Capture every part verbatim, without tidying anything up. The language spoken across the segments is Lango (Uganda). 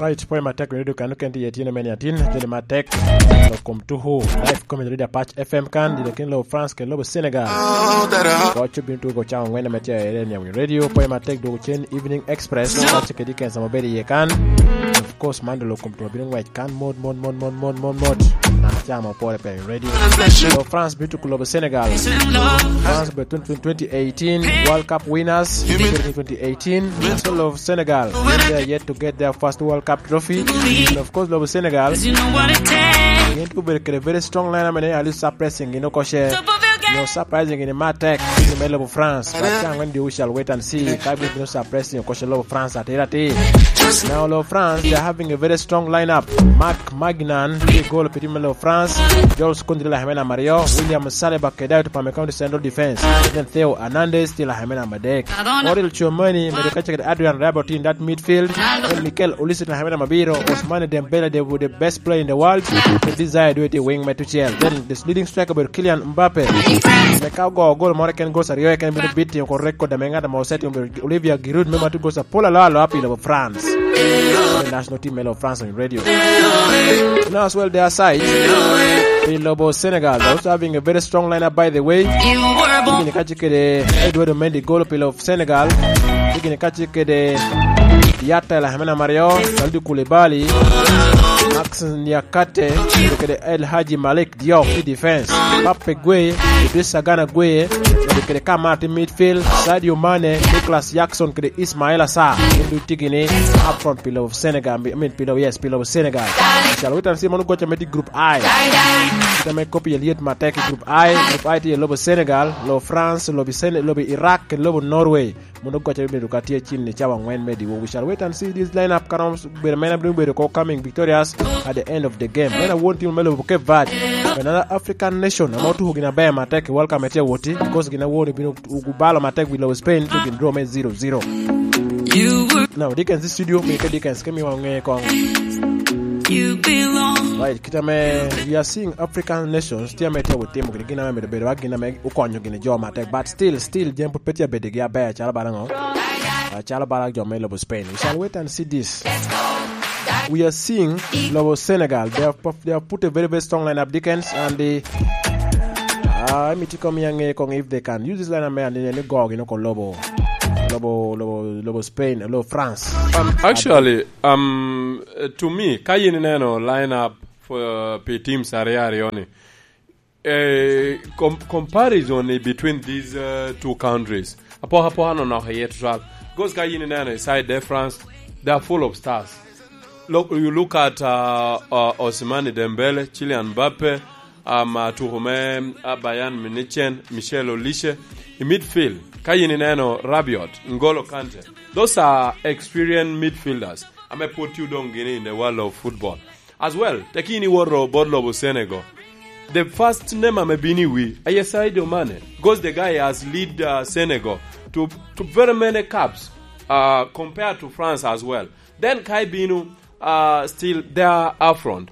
Right, pwoc matek, radio kan oken tye i tino me niatin, joni matek. Lo kom tuku, live comedy radio Apac F M kan, dino kin lobo France ke lobo Senegal. Koc obino tuko cawa ngwen ame tye a ere niawi radio, pwoc matek dwoko cen Evening Express, koc kedi kensa ma bedo iye kan. Of course, man dolo kom tuko bino ngwec kan mot, mot, mot, mot, mot, mot, mot. Na cawa ma opore pe i radio. Lo France bino tuko lobo Senegal. France be twenty, twenty eighteen World Cup winners, twenty eighteen, National of Senegal. They are yet to get their first World Cup trophy. And of course, lobo Senegal. Gin tuko bedo kede very strong line, amene ali surprising, you know, koshe. No surprising in matek, in me lobo France. But can when we shall wait and see. Ka gin no surprising, koshe lobo France, atira ti. Now, lobo France, they are having a very strong lineup. Marc Magnan, the goal of the team of France. Jules Kounde, la Hemena Mario. William Saliba, Kedai to Pamecano to central defense. Then Theo Hernandez, still la Hemena Madek. Auriel Tchouameni, Medokachek, Adrien Rabiot in that midfield. Then Mikel Olise, la Hemena Mabiro. Ousmane Dembele, the, the best player in the world. The desire do it wing me tuchel. Then the leading striker, but Kylian Mbappe. Me ka ogo gol more ken goals aryo, ken bino beating ko record ame ng'at ame osetimo, Olivier Giroud, me matu goals apol alo alo pi lobo France. The national team me lobo France on radio. You know as well their side. Pi lobo Senegal. They're also having a very strong lineup, by the way. Kini kachi kede Edouard Mendy, goal pi lobo Senegal. Kini kachi kede Yatta, la Hemena Mario, Kalidou Koulibaly, Max Niakate, kede El Hadji Malick Diop i defense. Pape Gueye, Idrissa Gana Gueye, kede Kamara i midfield, Sadio Mane, Nicolas Jackson, kede Ismaila Sarr. Gin ducu tye gini up front pi lobo Senegal, I mean, pi lobo, yes, pi lobo Senegal. Shall we see, mano gocha me tye group I. Kita me kopi ye liet matek i group I. Group I tye lobo Senegal, lobo France, lobo Sen-, lobo Iraq, kede lobo Norway. Mono goca me bedo ka tye cin i cawa angwen me diwo. We shall wait and see this lineup. Ka romo bedo mene abino bedo ko coming victorious at the end of the game. Meno awon timo me lobo Cape Verde. Another African nation ame otuko gin aber matek i World Cup me tye awoti, because gin awon obino gubalo matek wi lobo Spain, to gin draw me zero zero. Now, Dickens studio, mi ka Dickens ke miwa ŋe kong. Right, kita me, we are seeing African nations, tye ame tye awot timo gini, gin ame bedo bedo, gin ame okonyo gini jo matek, but still, still, jen pud pe tye abedigi aber, calo bala ŋo? Ah, calo bala jo me lobo Spain. We shall wait and see this. We are seeing lobo Senegal. They have, perf-, they have put a very, very strong lineup, Dickens, and the, ah, emi tye komi ange kong if they can use this lineup, man, ni go gino ko lobo, lobo, lobo, lobo Spain, lobo France. Um, actually, um, to me, ka yin ineno lineup for, uh, pi teams aryo aryo ni, Eh, com-, comparison i between these, uh, two countries. Apoka apoka no nok iye tutwal. Because ka yin ineno i side de France, they are full of stars. Look, you look at, uh, uh, Ousmane Dembele, Kylian Mbappe, um, uh, tuko me, uh, Bayern Munich, Michel Olise. I midfield, ka yin ineno Rabiot, N'Golo Kante. Those are experienced midfielders. Ame pwod tye odong gini in the world of football. As well, tekini woro bot lobo Senegal. The first name ame bini wi, aye Sadio Mane, because the guy has lead, uh, Senegal to, to very many cups, uh, compared to France as well. Then kai binu, uh, still there up front.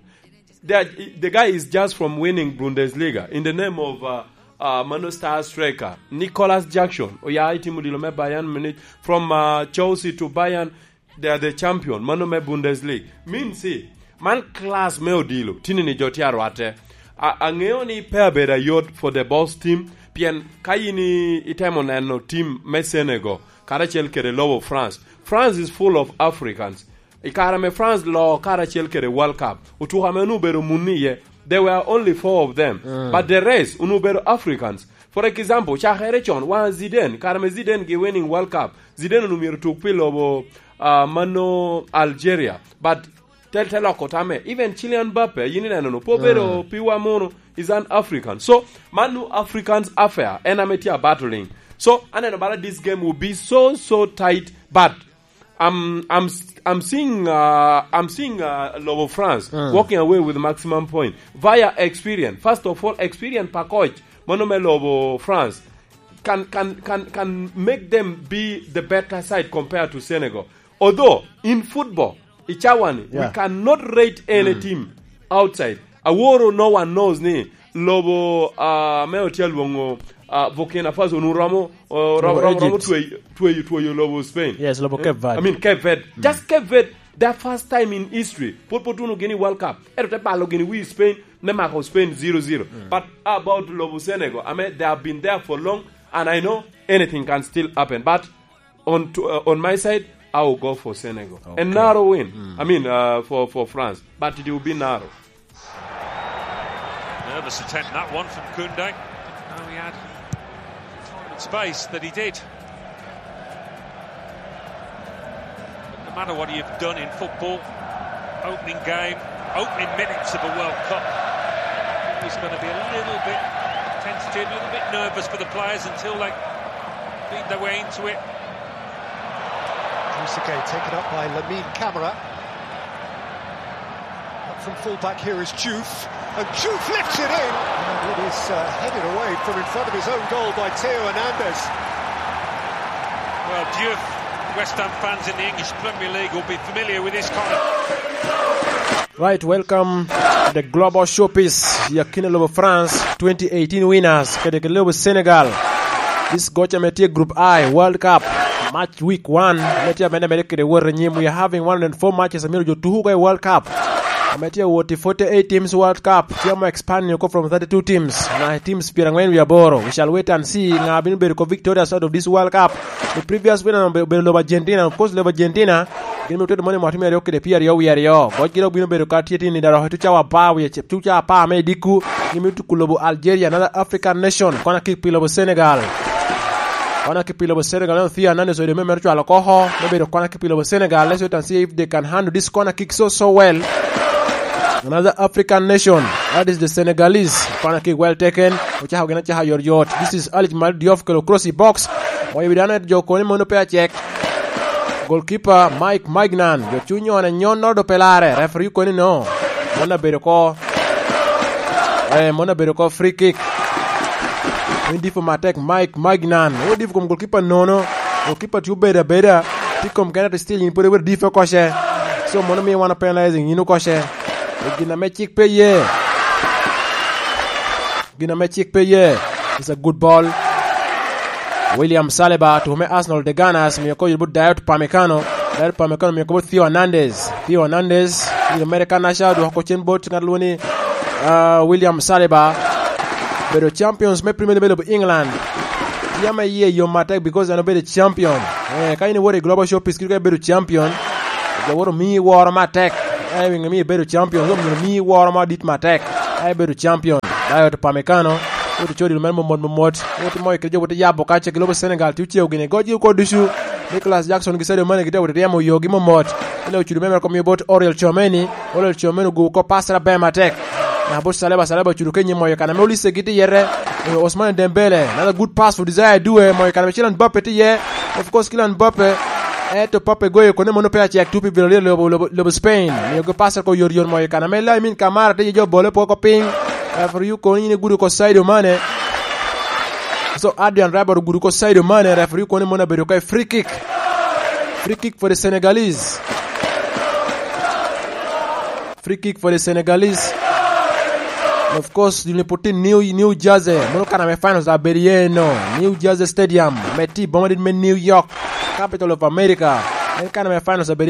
The, the guy is just from winning Bundesliga in the name of, uh, uh, Manu star striker, Nicolas Jackson. Oya itimo dilo me Bayern Munich, from, uh, Chelsea to Bayern, they are the champion, mano me Bundesliga. Mean si, man class me odilo, tini ni jo tye arwatte. A-, aŋeo ni pe abedo ayot for the boss team, pien ka yin i-, itemo neno team me Senegal, karacel kede lobo France. France is full of Africans. I kare me France lo karacel kede World Cup, otuko ame onwoŋo obedo muni iye, there were only four of them. Mm. But the rest, onwoŋo obedo Africans. For example, cakere con, wan Zidane, kare me Zidane gi winning World Cup, Zidane onwoŋo myero tuk pi lobo, ah, mano Algeria. But tel te loko tame. Even Kylian Mbappe, yin ineno no, pe obedo, mm, piwa mono, is an African. So, manu Africans affair, en ame tye a battling. So, aneno bala this game will be so, so tight, but I'm, I'm, I'm seeing, uh, I'm seeing, uh, lobo France, mm, walking away with maximum point via experience. First of all, experience pa coach, mano me lobo France can, can, can, can make them be the better side compared to Senegal. Although, in football, i cawani, we, yeah, cannot rate any, mm, team outside. Aworo, no one knows ni lobo, ah, me otye alwoŋo, ah, Burkina Faso nu romo, oh, ro-, romo, romo Egypt. Tweyo, tweyo, tweyo lobo Spain. Yes, lobo, eh? Cape Verde. I mean, Cape Verde. Mm. Just Cape Verde. The first time in history, pwod pwod tuno gini World Cup. Ento te balo gini wi Spain, me mako Spain zero zero. But about lobo Senegal, I mean, they have been there for long, and I know anything can still happen. But on to, uh, on my side, I will go for Senegal. A narrow win. I mean, uh, for, for France. But it will be narrow. Nervous attempt, that one from Kunde. Now he had time and space that he did. But no matter what you've done in football, opening game, opening minutes of a World Cup, always gonna be a little bit tentative, a little bit nervous for the players until they beat their way into it. Trezeguet taken up by Lamine Camara. Up from fullback here is Diouf. And Diouf lifts it in. And it is, uh, headed away from in front of his own goal by Theo Hernandez. Well, Diouf, West Ham fans in the English Premier League will be familiar with this kind of Right, welcome to the Global Showpiece. Yakina lobo France twenty eighteen winners kede ke lobo Senegal. This gocha me tye Group I World Cup match week one. Me tye amene amene kede wot anyim. We are having one hundred four matches amiro jo tuku i World Cup. Ame tye wot i forty-eight teams World Cup. Tye mo expanding oko from thirty-two teams. Na teams pyerangwen wie aboro. We shall wait and see nga bino bedo ko victorious out of this World Cup. The previous winner obe-, obedo lobo Argentina. Of course, lobo Argentina gin me otwedo moni mwaka me aryo kede pyeraryo wie aryo. Goc gin obino bedo ka tye tini daro tu cawa apar wie ce-, tu cawa apar me idikku. Gin me tuku lobo Algeria, another African nation. Kona kick pi lobo Senegal. Kona kick pi lobo Senegal, no Theo Hernandez oido me mere cwalo koko. Me bedo kona kick pi lobo Senegal. Let's wait and see if they can handle this corner kick so, so well. Another African nation. That is the Senegalese. Kona kick well taken. Ochako gin acaka yot yot. This is Alic Mal Diouf kelo cross i box. Moyo wi dano ento jo koni mono pe acek. Goalkeeper Mike Maignan, jo cuny one nyon nodo pe lare, referee koni no. Mon abedo ko. Eh, mon abedo ko free kick. Min difo matek Mike Maignan. O difo kom goalkeeper nono. Goalkeeper tye obedo abeda. Tye kom kene to still in pwod iwero difo koce. So mono miyo wan penalizing in okoce. E gin ame cik pe ye. Gin ame cik pe ye. It's a good ball. William Saliba, tuko me Arsenal, the Gunners, mio ko yot bot Dayot Pamecano. Dayot Pamecano mio ko bot Theo Hernandez. Theo Hernandez, yot mere ka naca, dwoko ko cen bot ngat lwoni, uh, William Saliba. Bedo champions me Premier League me lobo England. Yam iye yom matek because en obedo champion. Eh, ka in iwoto i Global Showpiece, kit ka ibedo champion, jo woto mii woro matek. Eh, winyo mii ibedo champion, jo mii woro madit matek. Ka ibedo champion. Dayot Pamecano, wot icodi mere momot momot. Wot imoyo kede jo wot iyabo kace ki lobo Senegal, ti oceo gini. Goc gi kwo ducu. Nicholas Jackson gi Sadio Mane gitye wot iryemo yogi momot. Ene ocudo mere kom bot Oriel Chomeni. Oriel Chomeni ogubo kop pass aber matek. Na bot Saleba, Saleba ocudo kenyi moyo kana me Olise gitye yete. Ousmane Dembele, another good pass for Desire Due, moyo kana me Kylian Mbappe tye iye. Of course, Kylian Mbappe. Eto Pape goyo kone mono pe acek tupi Villarreal lobo, lobo, lobo Spain. Miyogi pass ko yot yot moyo kana me Lamine Camara tye jo bole poko piny. Referee kono in igudo ko Sadio Mane. So Adrian Rabiot ogudo ko Sadio Mane, referee kono mono abedo ka free kick. Free kick for the Senegalese. Free kick for the Senegalese. And of course, you put in New, New Jersey. Mono kana me finals abedo ye no. New Jersey Stadium. Me ti boma dit me New York. Capital of America. En kana me finals abedo